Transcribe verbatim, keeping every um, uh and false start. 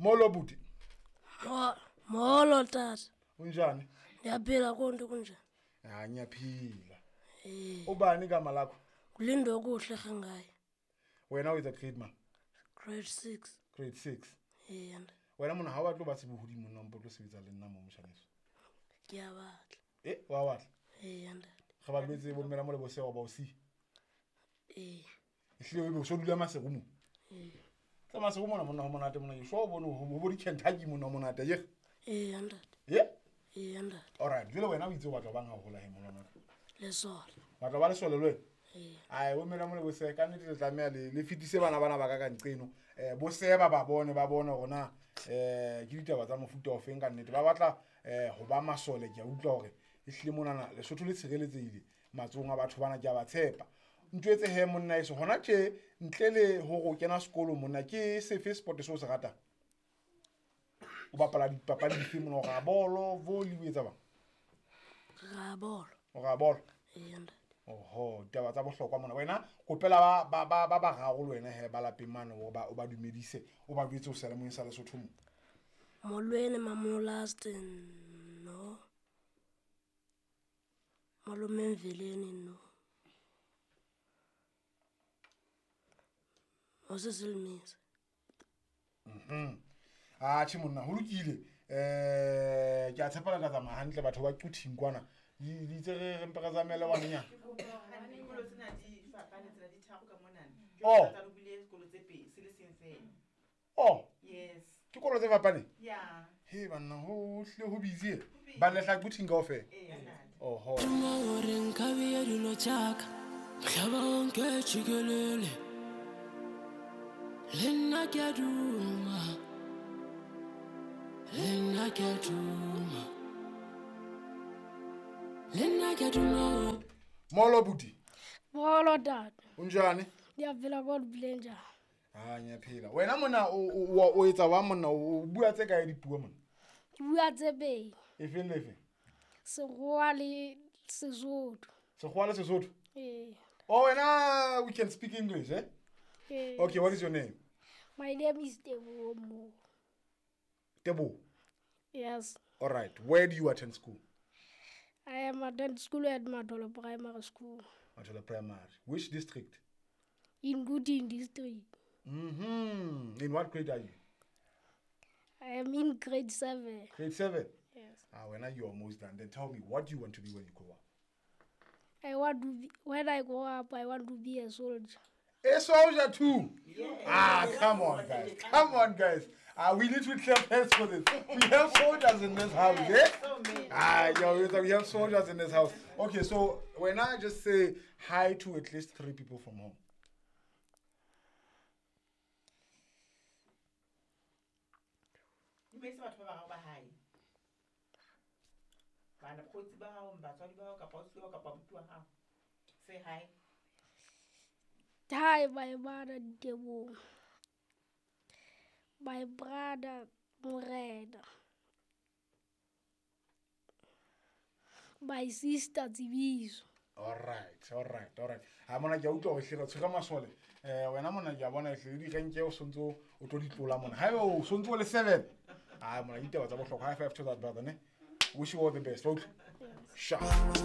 Molo buti. Molo tata. Unjani? Ngiyaphila konke kunjani? Ah, ngiyaphila. Eh. Ubani igama lakho? Kulindokuhle Khangayi. Wena o etsa grade man? Grade six. Grade six. Eh. Wena mona ha o batle ba sebohodi monna mpo tlo sebetsa le nna mo moshaneso. Ke a batla. Eh, wa batla? Eh, ntate. Ga ba lwetse bo mmela mo le bosewa ba o si. Eh. Ehlile o be o so dula Maseru mo. Eh. Tsa Maseru mona monna ho monate mona ke sho bone ho bo di Kentucky monna ho monate ye. Eh, ntate. Ye? Eh, ntate. All right, jwale wena o itse o batla bang ha hola he mona. Lesole. Batla ba lesole le wena? Eh. Ai bo mmela mo le boseka ka nnete le tlameha le le fetise bana bana ba ka ka nqeno. Eh bo seba ba bone ba bone hore na eh ke ditaba tsa mofuta o feng ka nnete. Ba batla eh ho ba masole ke a utlwa hore ehlile monana Lesotho le tshireletsehile matsohong a batho bana ke a ba tshepa. Ntwetse he monna eso hona tje ntle le hore o kena sekolo monna ke sefe sport se o se ratang? O bapala dipapadi dife monna, o ra bolo, volley o etsa bang? Ra bolo. O ra bolo? Eh, ntate. Oho, ditaba tsa bohlokwa mona. Wena kopela ba ba ba ba bararo le wena he ba lapeng mane o ba o ba dumedise, o ba jwetse o seyalemoyeng sa Lesotho mo. Molweni Mamolastin no. Malome Mveleni no. Osisilmisa. Mhm. Ah, tjhe monna, ho lokile. Eh, ke a tshepa le tla tsamaya hantle batho ba Quthing kwana. Di itse re re mpe re tsamaye le ngwanenyana. Dikolo tsena di fapane, tsena di tharo ka monana. Oh. Ke tla lokile sekolo tse pedi, se le seng fela. Oh. Yes. Ke kolo tse fapaneng? Yeah. He banna ho hlile ho busy. Ba le hla Quthing kaofela. Eh, ntate. Oho. Hore nka beya dilo tsa ka, mhlaba wonke jikelele. Le nna ke a duma. Le nna ke a duma. Le nna ke a duma. Molo buti. Molo tata. Unjani? Ngiyaphila kodwa uphile njani? Ah, ngiyaphila. Wena mona o o o etsa wa monna o bua tse kae dipuo monna? Ke bua tse pedi. Efeng le efeng? Sekgowa le Sesotho. Sekgowa le Sesotho? Eh. Oh, wena we can speak English, eh? Eh. Okay, what is your name? My name is Teboho Mo. Teboho? Yes. All right. Where do you attend school? I am attend school at Matolo Primary School. Matolo Primary. Which district? In Quthing district. Mm-hmm. In what grade are you? I am in grade seven. Grade seven? Yes. Ah, when are you almost done? Then tell me, what do you want to be when you grow up? I want to be, when I grow up, I want to be a soldier. A soldier too? Yes. Ah, come on, guys. Come on, guys. Ah, we need to clap hands for this. We have soldiers in this house, eh? So many. Ah, yo, we have soldiers in this house. Okay, so when I just say hi to at least three people from home. Dumedisa batho ba bararo ba hae. Bana bakgotsi ba hao, batswadi ba hao, kapa ausi wa hao, kapa abuti wa hao. Say hi. Hi, my mother Teboho. My brother Morena. My sister Tsebiso. All right, all right, all right. Ha mona ke a utlwa hore hle re tshwere masole. Eh wena mona ke a bona hle di renke o sontso o tlo di tlola mona. Haeba o sontso o le seven. Ah mona ditaba tsa bohlokwa. High five to that brother ne. Wish you all the best. Okay. Yes. Sharp.